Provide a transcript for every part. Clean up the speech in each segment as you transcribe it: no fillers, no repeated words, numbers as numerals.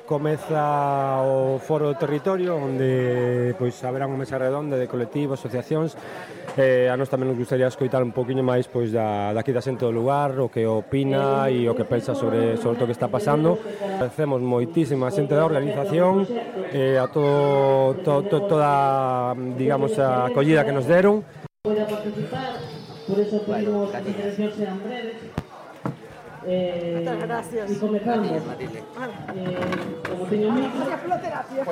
comeza o Foro do Territorio, onde pois haberá unha mesa redonda de colectivos, asociacións. A nós tamén nos gustaría escoitar un poquinho máis pois daqui da xente do lugar, o que opina e o que pensa sobre todo o que está pasando. Agradecemos moitísima a xente da organización, a toda, digamos, a acollida que nos deron. Poida participar, por eso pedimos que as intervencións sean breves. Muchas gracias. E comezamos. Como teño micro,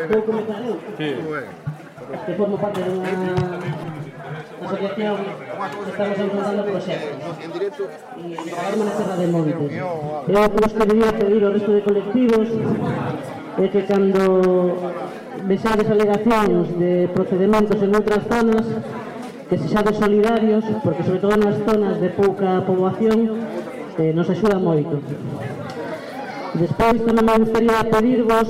vou comezar eu. Que formo parte dunha asociación que estamos enfrontando proxectos e trabalhamos na Serra de Montes. Eu o que vos quería pedir ao resto de colectivos é que cando vexades alegacións de procedementos en outras zonas, que sexades solidarios, porque sobre todo nas zonas de pouca poboación nos axuda moito. Despois tamén me gustaría pedirvos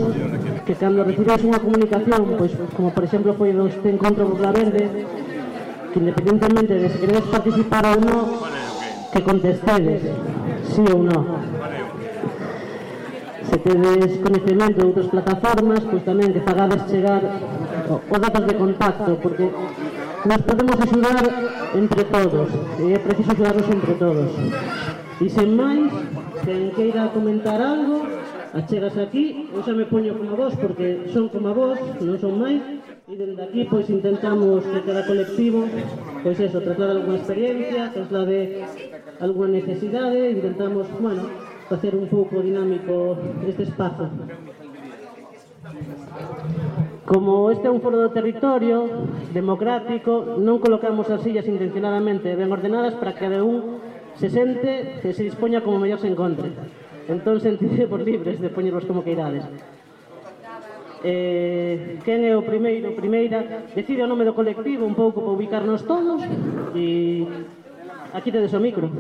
que cando recibáis unha comunicación, pois como por exemplo foi este encontro Burla Verde, que independentemente de se queredes participar ou non, que contestedes sí ou non. Se tedes coñecemento de outras plataformas, pois tamén que fagades chegar os datos de contacto, porque nos podemos axudar entre todos, e é preciso axudarnos entre todos. E sen máis, quen queira comentar algo, achegas aquí, eu xa me poño como vos, porque son como vos, non son máis, e dende aquí pois intentamos que cada colectivo, pois eso, traslade alguna experiencia, traslade alguna necesidade, intentamos, bueno, facer un pouco dinámico este espazo. Como este é un foro do territorio democrático, non colocamos as sillas intencionadamente ben ordenadas para que cada un se sente que se dispoña como mellor se encontre. Entón, sentidevos libres de poñervos como queirades. Quen é o primeiro, primeira, decide o nome do colectivo un pouco para ubicarnos todos e aquí tedes o micro.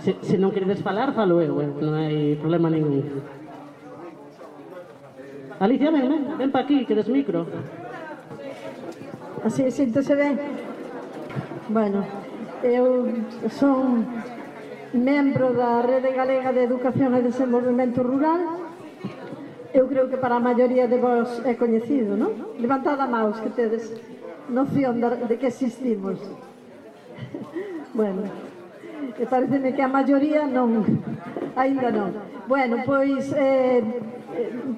Se non queredes falar, falo eu, non hai problema ningún. Alicia, ven pa aquí, que des micro. Así, síntese ben. Bueno, eu son membro da Rede Galega de Educación e Desenvolvemento Rural. Eu creo que para a maioría de vos é coñecido, non? Levantad a maus que tedes noción de que existimos. Bueno, pareceme que a maioría non, aínda non. Bueno, pois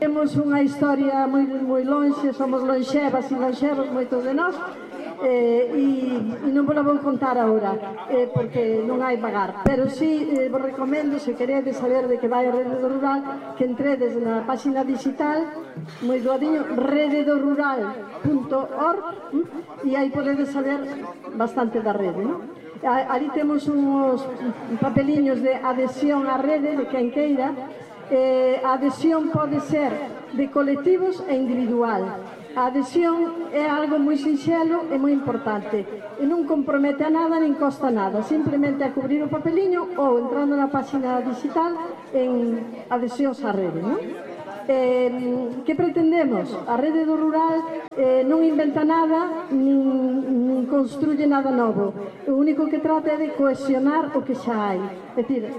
temos unha historia moi lonxe, somos lonxevas e lonxevos moitos de nós, e non vos la vou contar agora, porque non hai pagar, pero si vos recomendo, se queredes saber de que vai a Rede do Rural, que entredes na página digital, moi doadiño, rededorural.org, e aí podedes saber bastante da rede, non? Ali temos uns papeliños de adhesión á rede, de quen queira. A adhesión pode ser de colectivos e individual. A adhesión é algo moi sinxelo e moi importante. E non compromete a nada, nin costa nada. Simplemente a cubrir o papeliño ou entrando na página digital en adhesións á rede, non? Que pretendemos? A Rede do Rural non inventa nada nin construye nada novo. O único que trata é de cohesionar o que xa hai. É dicir,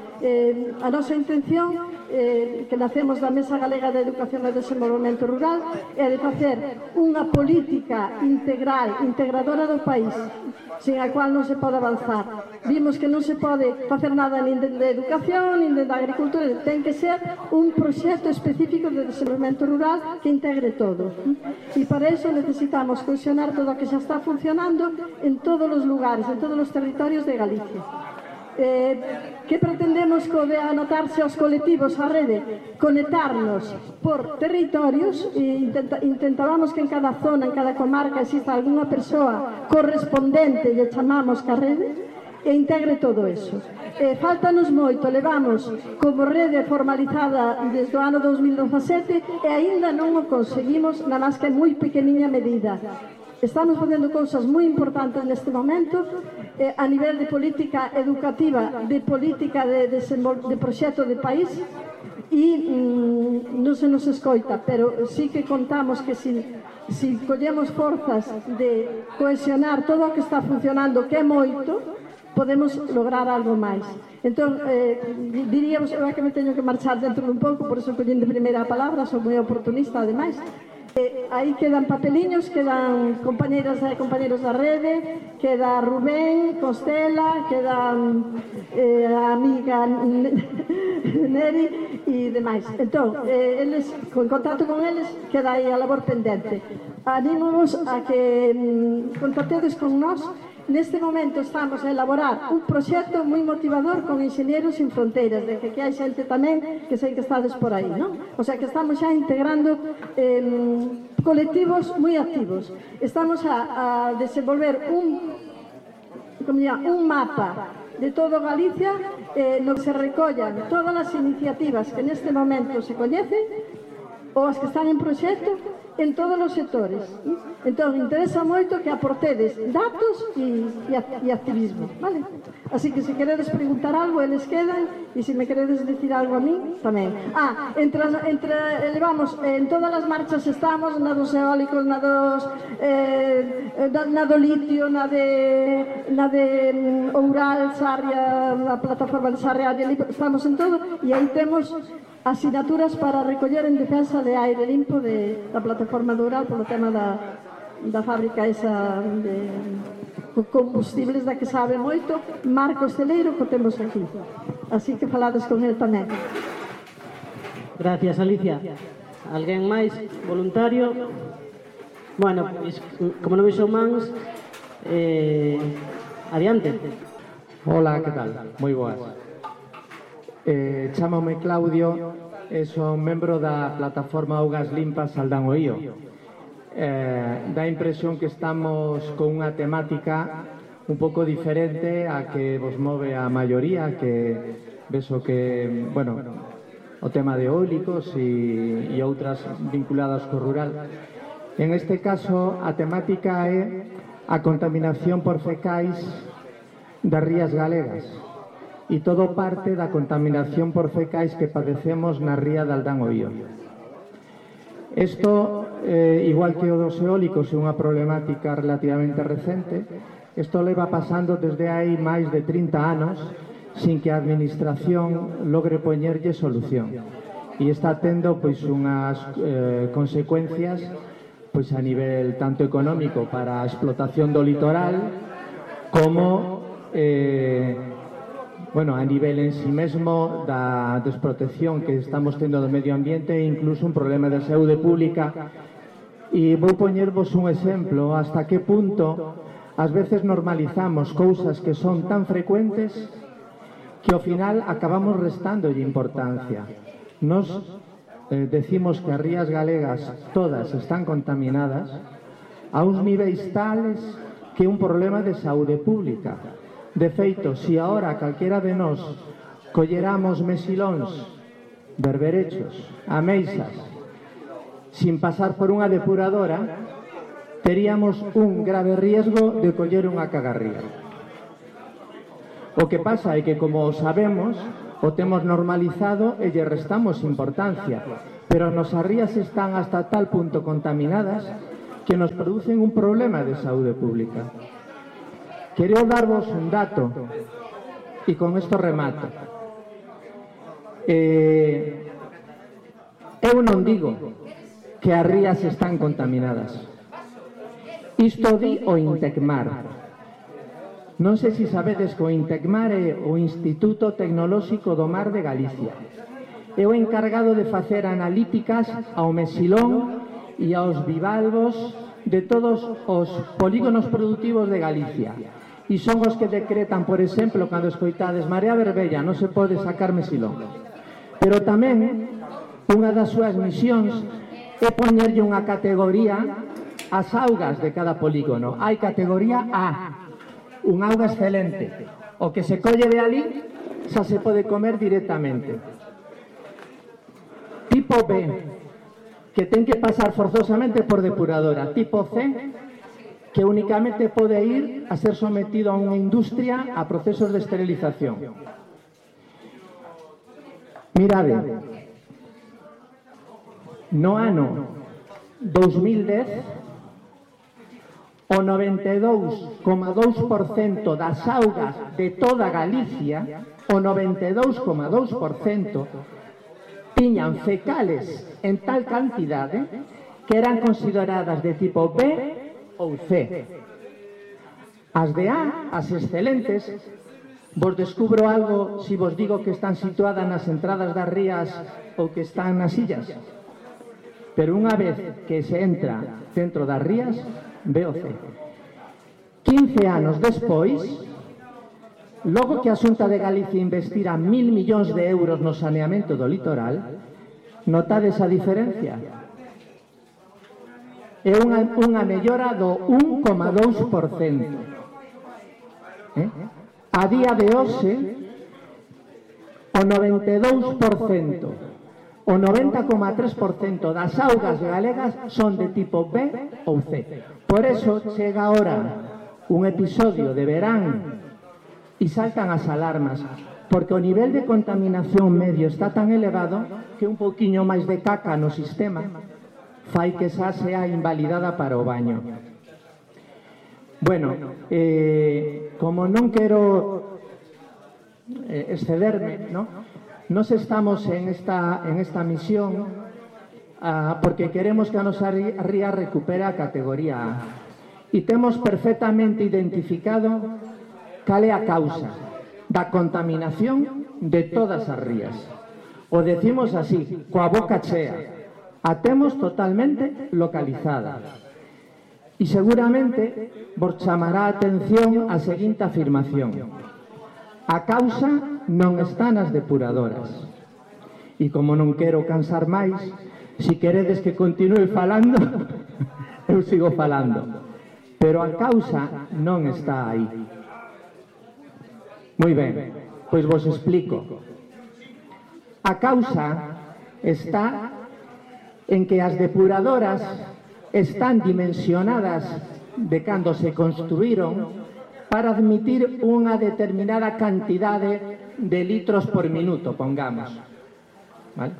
a nosa intención que nacemos da Mesa Galega de Educación e Desenvolvemento Rural é de facer unha política integral, integradora do país, sin a cual non se pode avanzar. Vimos que non se pode facer nada nin de educación, nin de agricultura, ten que ser un proxecto específico de desenvolvemento rural que integre todo. E para iso necesitamos cohesionar todo o que xa está funcionando en todos os lugares, en todos os territorios de Galicia. Que pretendemos co de anotarse aos colectivos á rede? Conectarnos por territorios e intentábamos que en cada zona, en cada comarca exista algunha persoa correspondente, lle chamamos ca rede, e integre todo eso. Faltanos moito, levamos como rede formalizada desde o ano 2017 e aínda non o conseguimos na máis que moi pequeniña medida. Estamos facendo cousas moi importantes neste momento a nivel de política educativa, de política de proxecto de país e non se nos escoita, pero sí que contamos que si collemos forzas de cohesionar todo o que está funcionando, que é moito, podemos lograr algo máis. Entón, diríamos, eu é que me teño que marchar dentro dun pouco, por iso collín de primeira a palabra, sou moi oportunista, ademais. Aí quedan papeliños, quedan compañeras e compañeros da rede, queda Rubén, Constela, quedan a amiga Neri e demais. Entón, eles, en contacto con eles, queda aí a labor pendente. Anímos a que contactedes con nós. Neste momento estamos a elaborar un proxecto moi motivador con Enxeñeros Sin Fronteiras, de que hai xente tamén que sei que estades por aí, non? O sea que estamos xa integrando colectivos moi activos. Estamos a desenvolver un mapa de todo Galicia no que se recollan todas as iniciativas que neste momento se coñecen ou as que están en proxecto en todos os sectores. Entón, interesa moito que aportedes datos e activismo, vale? Así que se queredes preguntar algo, eles quedan, e se me queredes decir algo a mí, tamén. Levamos, en todas as marchas estamos, na dos eólicos, na do litio, na de Oural, Sarria, na plataforma de Sarria, estamos en todo, e aí temos asignaturas para recoller en defensa de aire limpo da plataforma de Oural polo tema da fábrica esa de combustibles da que sabe moito, Marcos Celeiro, que temos aquí. Así que falades con el tamén. Gracias, Alicia. Alguén máis? Voluntario? Bueno, como non vexo mans, adiante. Hola, que tal? Moi boas. Chámame Claudio e son membro da plataforma Augas Limpas Saldán o Ío. Dá impresión que estamos con unha temática un pouco diferente a que vos move a maioría, que vexo que, bueno, o tema de eólicos e outras vinculadas co rural. En este caso, a temática é a contaminación por fecais das rías galegas. E todo parte da contaminación por fecais que padecemos na ría de Aldán o Ío. Isto, igual que o dos eólicos, é unha problemática relativamente recente. Isto leva pasando desde hai máis de 30 anos sin que a administración logre poñerlle solución. E está tendo pois unhas consecuencias pois a nivel tanto económico para a explotación do litoral como a nivel en sí mesmo da desprotección que estamos tendo do medio ambiente e incluso un problema de saúde pública. E vou poñervos un exemplo hasta que punto ás veces normalizamos cousas que son tan frecuentes que ao final acabamos restándolle importancia. Nos decimos que as rías galegas todas están contaminadas a uns niveis tales que é un problema de saúde pública. De feito, se agora calquera de nós colleramos mesilóns, berberechos, ameixas, sin pasar por unha depuradora, teríamos un grave riesgo de coller unha cagarría. O que pasa é que, como o sabemos, o temos normalizado e lle restamos importancia, pero as nosas rías están hasta tal punto contaminadas que nos producen un problema de saúde pública. Quero darvos un dato e con isto remato. Eu non digo que as rías están contaminadas. Isto di o Intecmar. Non sei se sabedes que o Intecmar é o Instituto Tecnolóxico do Mar de Galicia. É o encargado de facer analíticas ao mesilón e aos bivalvos de todos os polígonos productivos de Galicia. E son os que decretan, por exemplo, cando escoitades marea verbella, non se pode sacar mesilón. Pero tamén, unha das súas misións é poñerlle unha categoría ás augas de cada polígono. Hai categoría A, un auga excelente. O que se colle de ali xa se pode comer directamente. Tipo B, que ten que pasar forzosamente por depuradora. Tipo C, que únicamente pode ir a ser sometido a unha industria a procesos de esterilización. Mirade, no ano 2010, o 92,2% das augas de toda Galicia, o 92,2% tiñan fecales en tal cantidade que eran consideradas de tipo B ou C. As de A, as excelentes, vos descubro algo se vos digo que están situadas nas entradas das rías ou que están nas illas. Pero unha vez que se entra dentro das rías, B ou C. 15 anos despois, logo que a Xunta de Galicia investira 1.000 millóns de euros no saneamento do litoral, notades a diferencia? É unha mellora do 1,2%. A día de hoxe, o 92%, o 90,3% das augas galegas son de tipo B ou C. Por eso chega ahora un episodio de verán e saltan as alarmas, porque o nivel de contaminación medio está tan elevado que un pouquiño máis de caca no sistema fai que xa sea invalidada para o baño. Bueno, como non quero excederme, nos estamos en esta misión porque queremos que a nosa ría recupere a categoría A. E temos perfectamente identificado cal é a causa da contaminación de todas as rías. O decimos así, coa boca chea. A temos totalmente localizada. E seguramente vos chamará a atención a seguinte afirmación. A causa non está nas depuradoras. E como non quero cansar máis, se queredes que continue falando, eu sigo falando. Pero a causa non está aí. Moi ben, pois vos explico. A causa está en que as depuradoras están dimensionadas de cando se construíron para admitir unha determinada cantidade de litros por minuto, pongamos. ¿Vale?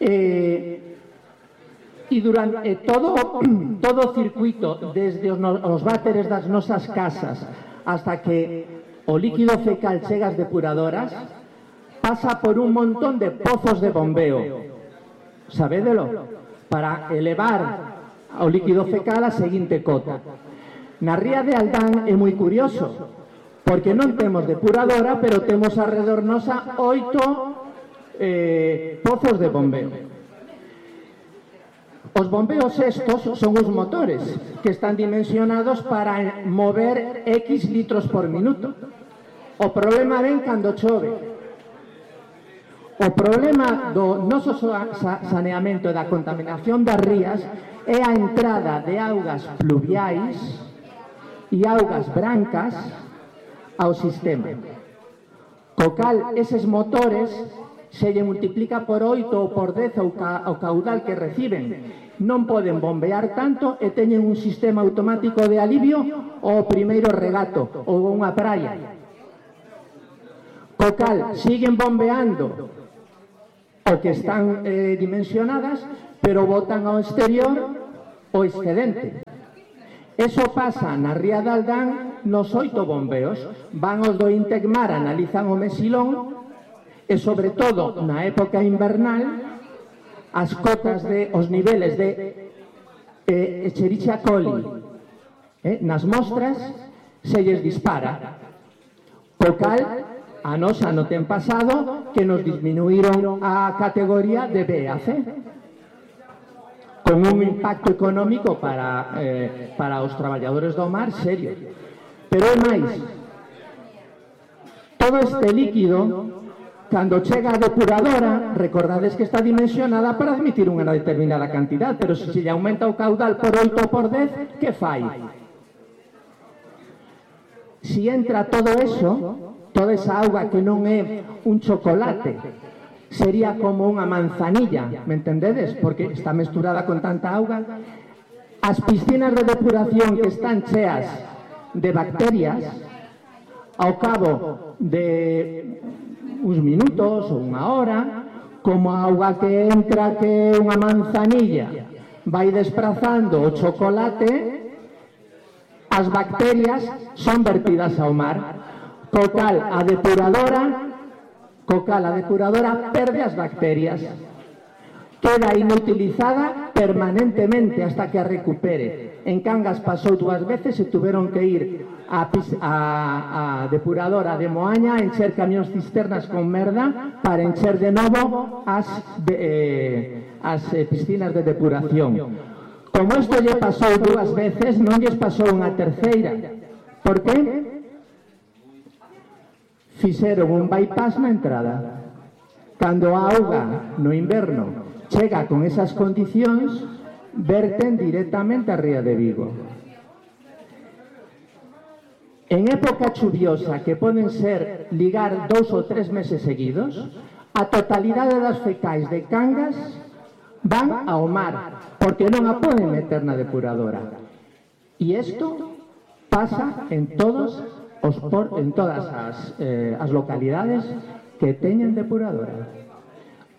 E durante todo o circuito, desde os váteres das nosas casas hasta que o líquido fecal chega ás depuradoras, pasa por un montón de pozos de bombeo. Sabédelo? Para elevar o líquido fecal a seguinte cota. Na ría de Aldán é moi curioso, porque non temos depuradora, pero temos alrededor nosa 8 pozos de bombeo. Os bombeos estos son os motores que están dimensionados para mover X litros por minuto. O problema ven cando chove. O problema do noso saneamento e da contaminación das rías é a entrada de augas pluviais e augas brancas ao sistema. Co cal, eses motores se lle multiplica por 8 ou por 10 o caudal que reciben. Non poden bombear tanto e teñen un sistema automático de alivio ao primeiro regato ou unha praia. Co cal, siguen bombeando o que están dimensionadas, pero botan ao exterior o excedente. Eso pasa na ría de Aldán nos 8 bombeos. Van os do Intecmar, analizan o mesilón e, sobre todo, na época invernal, as cotas os niveles de Escherichia coli nas mostras se lles dispara. Co cal, a nosa no ten pasado que nos disminuíron a categoría de B a C, con un impacto económico para os traballadores do mar serio. Pero é máis, todo este líquido, cando chega a depuradora, recordades que está dimensionada para admitir unha determinada cantidad, pero se lle aumenta o caudal por 8 ou por 10, que fai? Si entra todo eso, toda esa auga que non é un chocolate, sería como unha manzanilla, me entendedes? Porque está mesturada con tanta auga. As piscinas de depuración que están cheas de bacterias, ao cabo de uns minutos ou unha hora, como a auga que entra que é unha manzanilla vai desprazando o chocolate, as bacterias son vertidas ao mar. Co cal a depuradora perde as bacterias. Queda inutilizada permanentemente hasta que a recupere. En Cangas pasou 2 veces e tuveron que ir a depuradora de Moaña a encher camións cisternas con merda para encher de novo as piscinas de depuración. Como isto lle pasou 2 veces, non lles pasou unha terceira. Por que? Fixeron un bypass na entrada. Cando a auga no inverno chega con esas condicións, verten directamente a ría de Vigo. En época chuviosa, que poden ser ligar 2 ou 3 meses seguidos, a totalidade das fecais de Cangas van ao mar, porque non a poden meter na depuradora. E isto pasa en todas as localidades que teñen depuradora.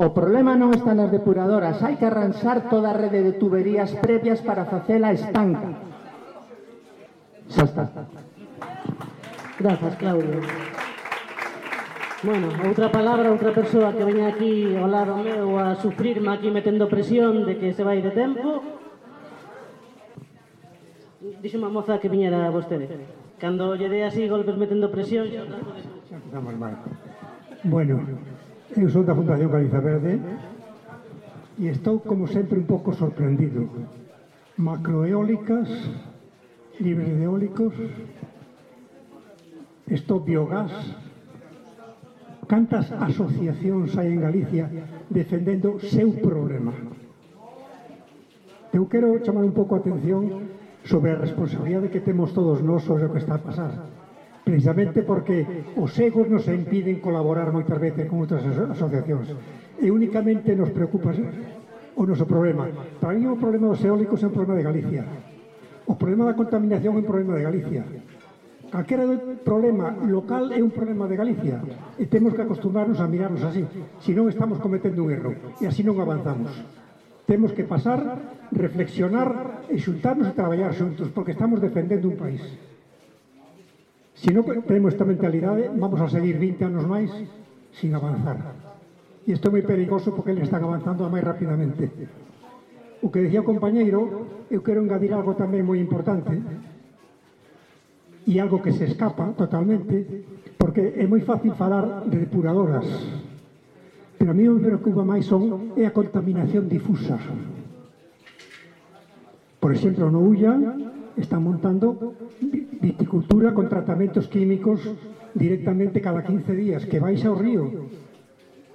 O problema non está nas depuradoras, hai que arranxar toda a rede de tuberías previas para facela estanca. Xa está. Grazas, Claudio. Bueno, outra palabra, outra persoa que veña aquí ao lado meu a sufrirme aquí metendo presión de que se vai de tempo. Dixo unha moza que viñera vostede. Cando lle dé así golpes metendo presión... Xa empezamos mal. Bueno, eu son da Fundación Galiza Verde e estou, como sempre, un pouco sorprendido. Macroeólicas, libres de eólicos, isto biogás. Cantas asociacións hai en Galicia defendendo seu problema? Eu quero chamar un pouco a atención sobre a responsabilidade que temos todos nós sobre o que está a pasar. Precisamente porque os egos nos impiden colaborar moitas veces con outras asociacións e únicamente nos preocupa o noso problema. Para mí o problema dos eólicos é un problema de Galicia, o problema da contaminación é un problema de Galicia, calquera problema local é un problema de Galicia e temos que acostumbrarnos a mirarnos así, senón estamos cometendo un erro e así non avanzamos. Temos que pasar, reflexionar e xuntarnos e traballar xuntos porque estamos defendendo un país. Se non temos esta mentalidade, vamos a seguir 20 anos máis sin avanzar. E isto é moi perigoso porque eles están avanzando máis rapidamente. O que decía o compañeiro, eu quero engadir algo tamén moi importante e algo que se escapa totalmente, porque é moi fácil falar de depuradoras, pero a mí o que me preocupa máis é a contaminación difusa. Por exemplo, no Ulla están montando viticultura con tratamentos químicos directamente cada 15 días, que baixa ao río.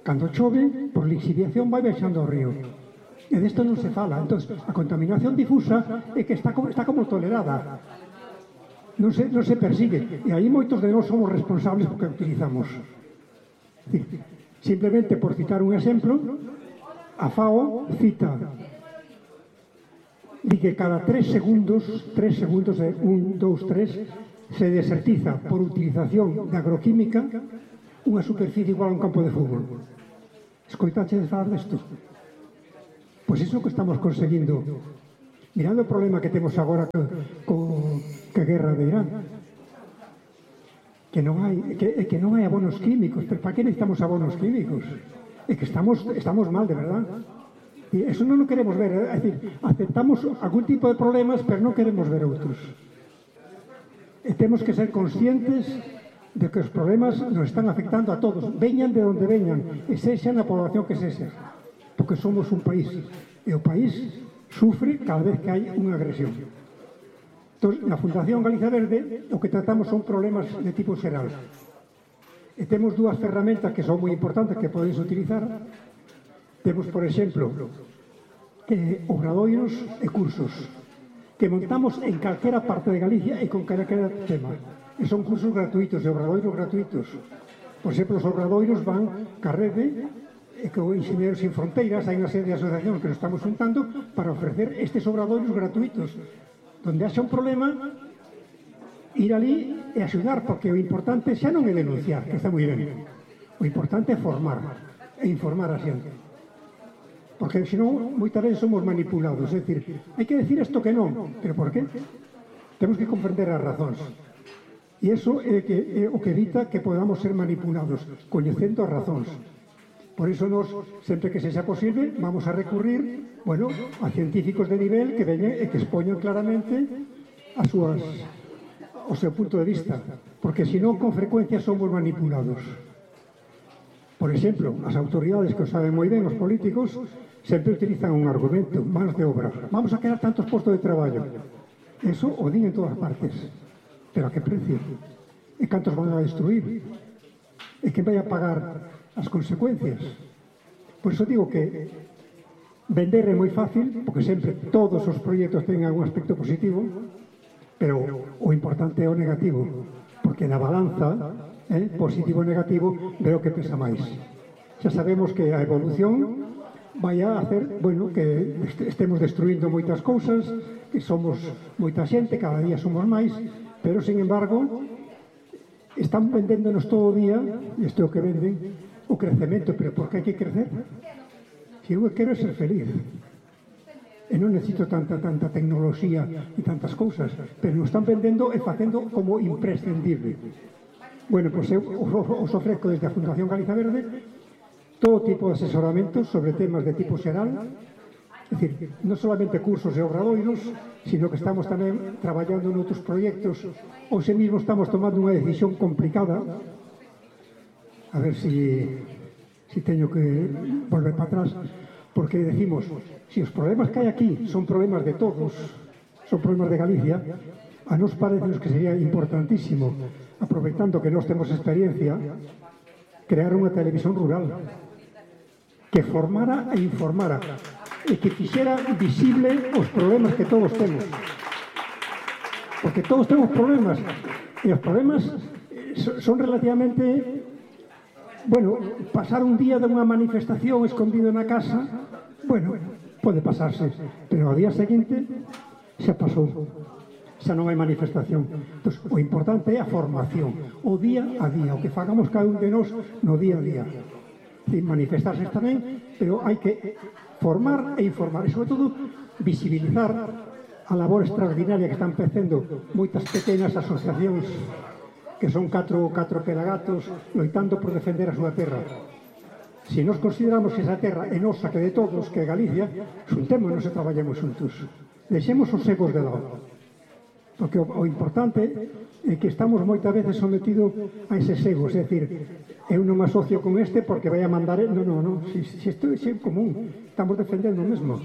Cando chove, por lixiviación vai baixando ao río. E desto non se fala. Entón, a contaminación difusa é que está como tolerada. Non se persigue. E aí moitos de nós somos responsables porque a utilizamos. Simplemente, por citar un exemplo, a FAO cita di que cada 3 segundos, 1, 2, 3, se desertiza por utilización de agroquímica unha superficie igual a un campo de fútbol. Escoitache de falar desto? Pois iso que estamos conseguindo. Mirando o problema que temos agora ca guerra de Irán, que non hai abonos químicos. Pero para que necesitamos abonos químicos? É que estamos mal, de verdad. E eso non o queremos ver, é dicir, aceptamos algún tipo de problemas, pero non queremos ver outros. E temos que ser conscientes de que os problemas nos están afectando a todos, veñan de onde veñan, e sexa na población que sexa, porque somos un país, e o país sufre cada vez que hai unha agresión. Entón, na Fundación Galiza Verde, o que tratamos son problemas de tipo xeral. E temos 2 ferramentas que son moi importantes que podedes utilizar. Temos, por exemplo, obradoiros e cursos que montamos en calquera parte de Galicia e con calquera tema. E son cursos gratuitos e obradoiros gratuitos. Por exemplo, os obradoiros van ca rede e co Enxeñeros Sin Fronteiras, hai unha serie de asociacións que nos estamos juntando para ofrecer estes obradoiros gratuitos. Donde haxa un problema, ir ali e axudar, porque o importante xa non é denunciar, que está moi ben. O importante é formar e informar a xente. Porque senón moitas veces somos manipulados, é dicir, hai que decir isto que non, pero por qué? Temos que comprender as razóns. E iso é o que evita que podamos ser manipulados, coñecendo as razóns. Por iso nos, sempre que sexa posible, vamos a recurrir, bueno, a científicos de nivel que veñen e que expoñan claramente o seu punto de vista, porque senón con frecuencia somos manipulados. Por exemplo, as autoridades que o saben moi ben, os políticos, sempre utilizan un argumento, mans de obra. Vamos a crear tantos postos de traballo. Eso o din en todas partes. Pero a que precio? E cantos van a destruir? E quen vai a pagar as consecuencias? Por iso digo que vender é moi fácil, porque sempre todos os proxectos teñen algún aspecto positivo, pero o importante é o negativo, porque na balanza, positivo e negativo, veo que pesa máis. Xa sabemos que a evolución vai a hacer, bueno, que estemos destruindo moitas cousas, que somos moita xente, cada día somos máis, pero, sin embargo, están vendéndonos todo o día, e isto é o que venden, o crecemento, pero por que hai que crecer? Se eu quero ser feliz, e non necesito tanta tecnoloxía e tantas cousas, pero nos están vendendo e facendo como imprescindible. Bueno, pois eu os ofrezco desde a Fundación Galiza Verde todo tipo de asesoramentos sobre temas de tipo xeral, é dicir, non solamente cursos e obradoiros, sino que estamos tamén traballando noutros proxectos. Hoxe mesmo estamos tomando unha decisión complicada, a ver si teño que volver para atrás, porque decimos, si os problemas que hai aquí son problemas de todos, son problemas de Galicia, a nos parece que sería importantísimo, aproveitando que nós temos experiencia, crear unha televisión rural que formara e informara e que fixera visible os problemas que todos temos, porque todos temos problemas e os problemas son relativamente, bueno, pasar un día de unha manifestación escondido na casa, bueno, pode pasarse, pero ao día seguinte xa pasou, xa non hai manifestación. Entón, o importante é a formación, o día a día, o que fagamos cada un de nós no día a día. Manifestarse tamén, pero hai que formar e informar, e sobre todo visibilizar a labor extraordinaria que están facendo moitas pequenas asociacións que son catro pelagatos loitando por defender a súa terra. Se nos consideramos que esa terra é nosa, que de todos, que é Galicia, xuntémonos e traballemos xuntos. Deixemos os egos de lado, porque o importante é que estamos moitas veces sometidos a eses egos, é dicir, eu non me asocio con este porque vai a mandar... Non, se isto é común, estamos defendendo o mesmo,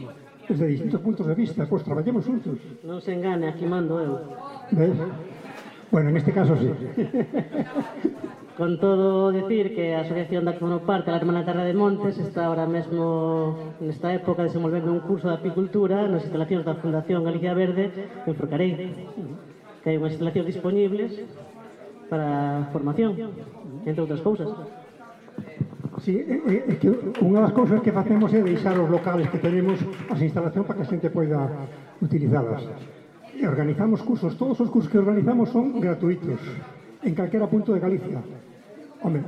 desde distintos puntos de vista, pois traballemos xuntos. Non se engane, aquí mando eu. ¿Ves? Bueno, en este caso sí. Con todo, decir que a asociación da que formo parte, a Hermana Terra de Montes, está ahora mesmo nesta época desenvolvendo un curso de apicultura nas instalacións da Fundación Galicia Verde en Forcarei, que hai unhas instalacións disponibles para formación, entre outras cousas. Sí, é que unha das cousas que facemos é deixar os locales que tenemos as instalacións para que a xente poida utilizalas. E organizamos cursos, todos os cursos que organizamos son gratuitos, en calquera punto de Galicia. Home,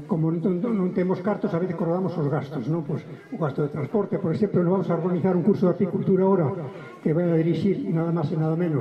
como non temos cartos, a veces corredamos os gastos, non? Pois, o gasto de transporte, por exemplo, nos vamos a organizar un curso de apicultura ahora que vai a dirixir nada máis e nada menos